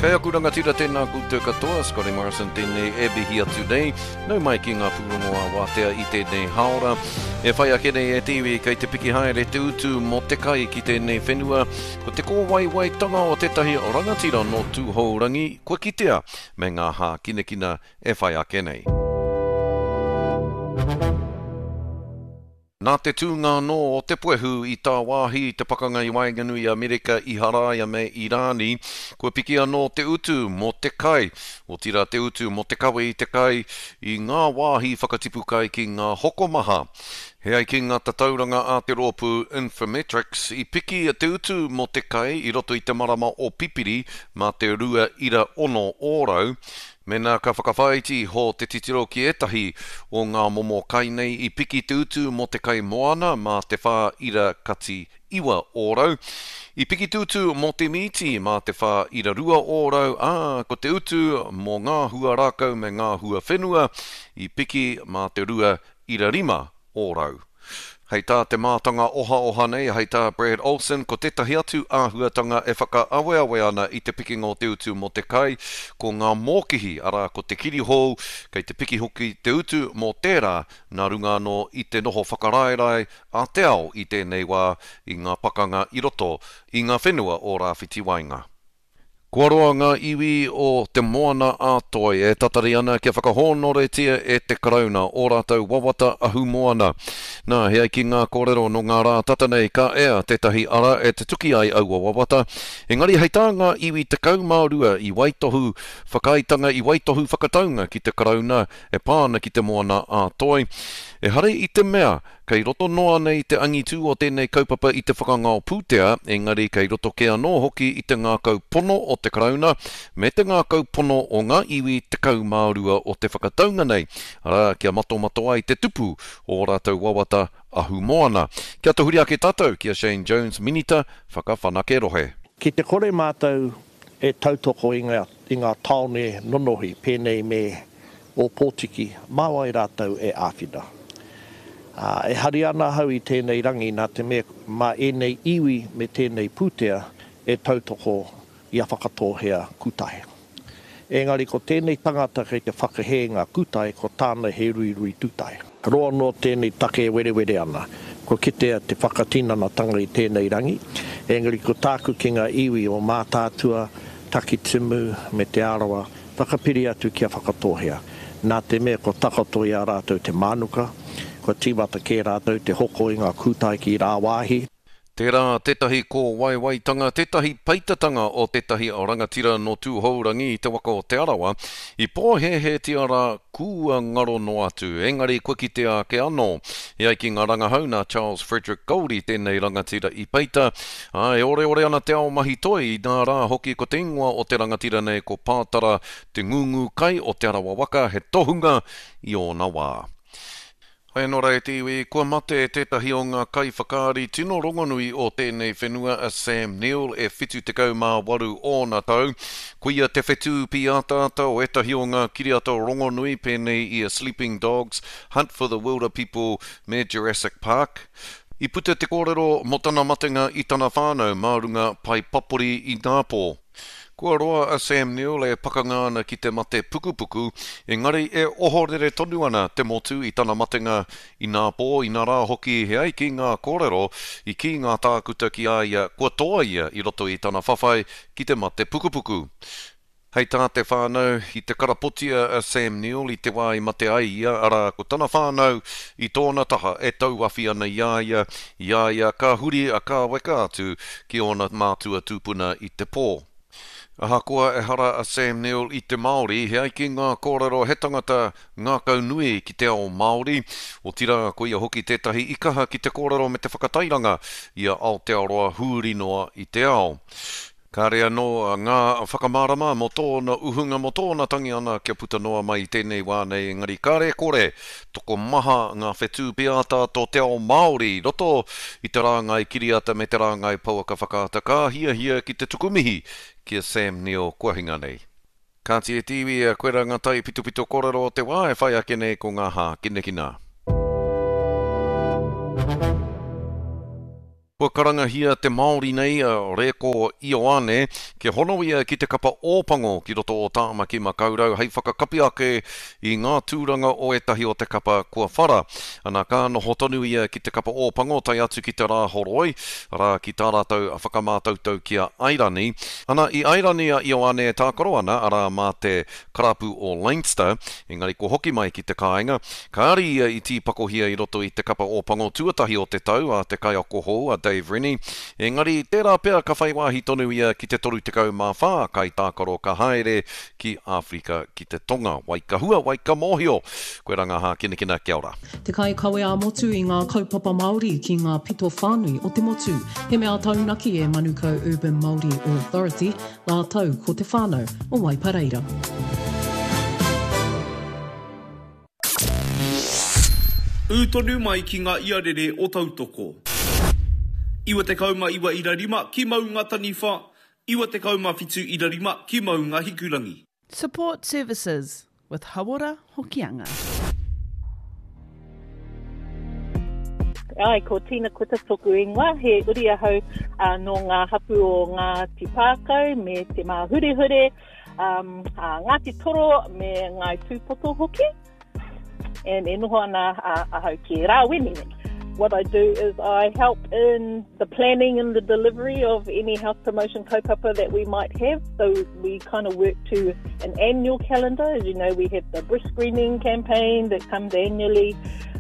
Kei aku rangatira tēnā koutou katoa, Scotty Morrison tēnei e mihi atu nei. Nau mai ki ngā pūrongo ā-wātea i tēnei hāora. E whai ake nei e te iwi kei te piki haere te utu mō te kai ki tēnei whenua. Ko te kōwaiwaitanga o tētahi rangatira nō Tūhourangi kua kitea me ngā hākinakina e whai ake nei. Nā te tūnga anō o te puehu i tāwāhi i te pakanga i waenganui i Amerika, Iharaia me Irāni, kua piki anō te utu mō te kai, otirā te utu mō te kawe i te kai i ngā wāhi whakatipu kai ki ngā hokomaha. He ai ki ngā tatauranga a te rōpū Infometrics, i piki te utu mō te kai i roto i te marama o Pipiri mā te 2.6 ōrau, Mēnā ka whakawhāiti iho te titiro ki ētahi o ngā momo kai nei i piki te utu mō te kai moana mā te 4.9 ōrau, i piki te utu mō te mīti mā te 4.2 ōrau, ā, ko te utu mō ngā hua rākau me ngā hua whenua i piki mā te 2.5 ōrau. Hei tā te mātanga ohaoha nei, hei tā Brad Olsen, ko tētahi atu āhuatanga e whakaaweawe ana i te pikinga o te utu mō te kai, ko ngā mōkihi, arā, ko te kirihou, kei te piki hoki te utu mō tērā, nā runga anō i te noho whakaraerae a te ao i tēnei wā i ngā pakanga i roto i ngā whenua o Rāwhiti Waenga. Kua roa ngā iwi o Te Moana a Toi e tatari ana kia whakahōnoretia e te Karauna ō rātou wawata ahumoana. Nā, he ai ki ngā kōrero nō ngā rā tata nei ka ea tētahi ara e tutuki ai aua wawata, engari hei tā ngā iwi 12 i waitohu whakaaetanga i waitohu whakataunga ki te Karauna e pā ana ki Te Moana a Toi, ehara i te mea Kei roto noa nei te angitū o tēnei kaupapa i te whakangao pūtea, engari kei roto kē anō hoki i te ngākau pono o te Karauna me te ngākau pono o ngā iwi 12 o te whakataunga nei, arā, kia matomato ai te tupu o ō rātou wawata ahumoana. Kia tahuri ake tātou ki a Shane Jones, Minita Whakawhanake Rohe. Ki te kore mātou e tautoko i ngā tāone nonohi pēnei me Ōpōtiki, mā wai rātou e āwhina? Ā, e hari ana ahau i tēnei rangi nā te mea mā ēnei iwi me tēnei pūtea e tautoko i a Whakatōhea Kūtae. Engari ko tēnei tangata kei te whakahē ngā kūtae, ko tāna he ruirui tūtae. Roa noa tēnei take e werewere ana. Kua kitea te whakatinanatanga i tēnei rangi, engari ko tāku ki ngā iwi o Mātaatua, Takitimu me Te Arawa, Whakapiri atu kia Whakatōhea. Nā te mea kua takoto i a rātou te mānuka, kua tīmata kē rātou te hoko i ngā kūtae ki rāwāhi. Tērā tētahi kōwaiwaitanga, tētahi peitatanga o tētahi rangatira nō Tūhourangi i te waka o Te Arawa, i pōhēhētia rā kua ngaro noa atu, engari kua kitea ake anō. E ai ki ngā rangahau nā Charles Frederick Goldie tēnei rangatira i peita, Ā, e oreore ana te ao mahi toi, inā rā hoki ko te ingoa o te rangatira nei ko Pātara Te Ngūngū Kai o Te Arawa Waka, he tohunga i ōna wā. Hei anō rā e te iwi, kua mate tētahi o ngā kaiwhakaari tino rongonui o tēnei whenua a Sam Neill e 78 ōna tau. Koia te whetū pīataata o ētahi o ngā kiriata rongonui pēnei i a Sleeping Dogs, Hunt for the Wilderpeople me Jurassic Park. I puta te kōrero mō tana matenga i tana whānau mā runga pae papori inapō. Kua roa a Sam Neill e pakanga ana ki te mate pukupuku, engari e ohorere tonu ana te motu i tana matenga inapō, inarā hoki he ai ki ngā kōrero i kī ngā tākuta ki a ia kua toa ia i roto i tana whawhai ki te mate pukupuku. Hei tā te whānau, i te karapotia a Sam Neill i te wā i mate ai ia, arā, ko tana whānau i tōna taha e tauawhi ana i a ia, i a ia ka huri a kāweka atu ki ōna mātua tūpuna i te pō. Ahakoa ehara a Sam Neill i te Māori, he ai ki ngā kōrero he tangata ngākaunui ki te ao Māori, otirā koia hoki tētahi i kaha ki te kōrero me te whakatairanga i a Aotearoa huri noa i te ao. Kāre anō ngā whakamārama mō tōna uhunga, mō tōna tangi ana kia puta noa mai i tēnei wā nei, engari kāre e kore, tokomaha ngā whetū pīataata o te ao Māori i roto i te rāngai kiriata me te rāngai pouaka whakaata ka hiahia ki te tuku mihi ki a Sam Neill kua hinga nei. Kāti e te iwi, koirā ngā taipitopito kōrero o te wā e whai ake nei ko ngā hākinakina. Kua karangahia te Māori nei a Reko Ioane kia hono ia ki te kapa Ōpango ki roto o Tāmaki Makaurau hei whakakapi ake i ngā tūranga o ētahi o te kapa kua whara. Ana ka noho tonu ia ki te kapa Ōpango tae atu ki te Rāhoroi, arā ki tā rātou whakamātautau ki a Airani. Ana i Airani a Ioane e tākaro ana, arā mā te karapu o Leinster, engari kua hoki mai ki te kāinga. Kāre ia i tīpakohia i roto i te kapa Ōpango tuatahi o te tau a te kaiako hou a Dave Rennie, engari tērā pea ka whai wāhi tonu ia ki te 34 kaitākaro ka haere ki Āwherika ki te Tonga. Wai ka hua, wai ka mōhio! Koirā ngā hākinakina, kia ora. Te kaikawe ā-motu i ngā kaupapa Māori ki ngā pito whānui o te motu. He mea taunaki e Manukau Urban Māori Authority rātou ko te whānau o Waipareira. Ū tonu mai ki ngā iarere o Tautoko. 99 ira rima ki Maunga Taniwha, 97 ira rima ki Maunga Hikurangi. Support Services with Hauora Hokianga. Āe, ko Tina Kuta toku ingoa, he uri ahau nō ngā hapū o Ngāti Pākau me Te Māhurehure, um, a Ngāti Toro me Ngāi Tūpoto hoki. And e noho ana ahau ki Rāwene. What I do is I help in the planning and the delivery of any health promotion kaupapa that we might have. So we kind of work to an annual calendar. As you know, we have the breast screening campaign that comes annually.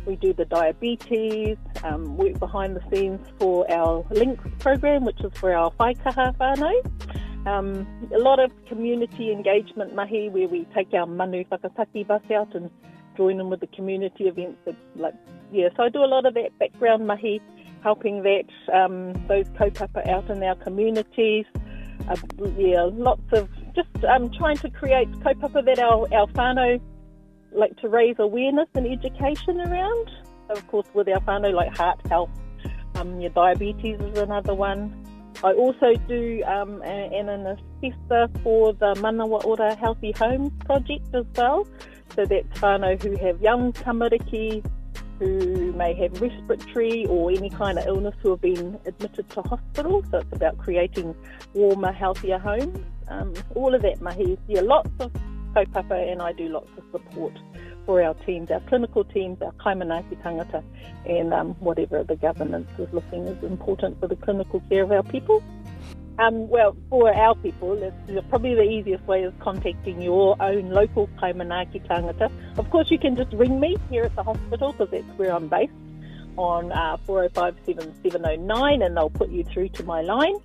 We do the diabetes, um, work behind the scenes for our Links program, which is for our whaikaha whānau. Um, a lot of community engagement mahi where we take our manu whakataki bus out and join them with the community events. That, like, yeah, so I do a lot of that background mahi, helping that um, those kaupapa out in our communities. Uh, yeah, lots of just um, trying to create kaupapa that our, our whānau like to raise awareness and education around. Of course, with our whānau, like heart health, um, your diabetes is another one. I also do um, and an assessor for the Manawa Ora Healthy Homes project as well. So that's whānau who have young tamariki, who may have respiratory or any kind of illness who have been admitted to hospital. So it's about creating warmer, healthier homes. Um, all of that mahi. Yeah, lots of kaupapa and I do lots of support for our teams, our clinical teams, our kaimanaaki tangata, and um, whatever the governance is looking is important for the clinical care of our people. Um, well, for our people, it's probably the easiest way is contacting your own local kaimanaaki tangata. Of course, you can just ring me here at the hospital because that's where I'm based on uh, 405 7709 and they'll put you through to my line.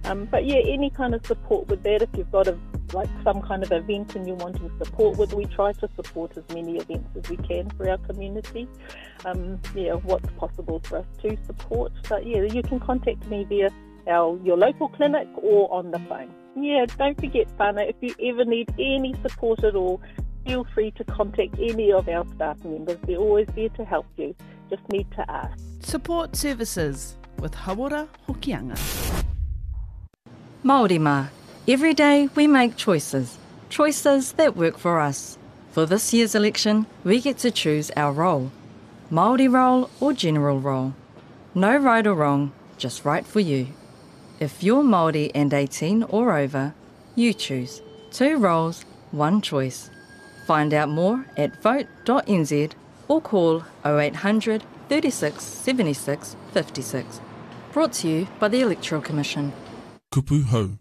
Um, but yeah, any kind of support with that, if you've got a like some kind of event and you're wanting support with, we try to support as many events as we can for our community. Um, yeah, what's possible for us to support. But yeah, you can contact me via our your local clinic or on the phone. Yeah, don't forget, whānau, if you ever need any support at all, feel free to contact any of our staff members. They're always there to help you. Just need to ask. Support services with Hauora Hokianga. Māori mā, every day we make choices. Choices that work for us. For this year's election, we get to choose our role. Māori role or general role. No right or wrong, just right for you. If you're Māori and 18 or over, you choose. Two roles, one choice. Find out more at vote.nz or call 0800 36 76 56. Brought to you by the Electoral Commission. Kupu Hou.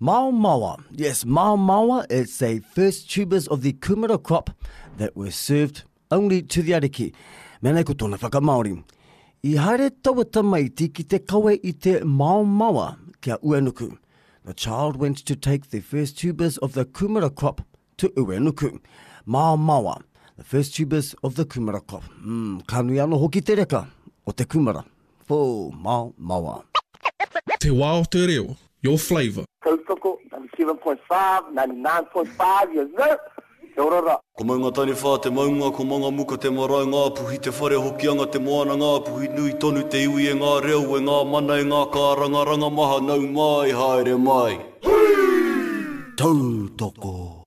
Mao Mawa. Yes, Mao Mawa. It's a first tubers of the kumara crop that were served only to the ariki. Mena ko tōna whakamāori. I haere taua tamaiti ki te kawe i te Mao Mawa ki a Uenuku. The child went to take the first tubers of the kumara crop to Uenuku. Mao Mawa. The first tubers of the kumara crop. Mm, ka nui anō hoki te reka o te kumara. Whoo, Mao Mawa. Te wā o te reo, your flavour. Tautoko, 97.5, 99.5, yes sir! Kia ora ra. Ko Maungataniwha te maunga, ko Mangamuka te marae, Ngāpuhi te whare, Hokianga te moana, Ngāpuhi nui tonu te iwi e ngā reo, e ngā mana, e ngā kārangaranga maha, nau mai, haere mai. Tautoko!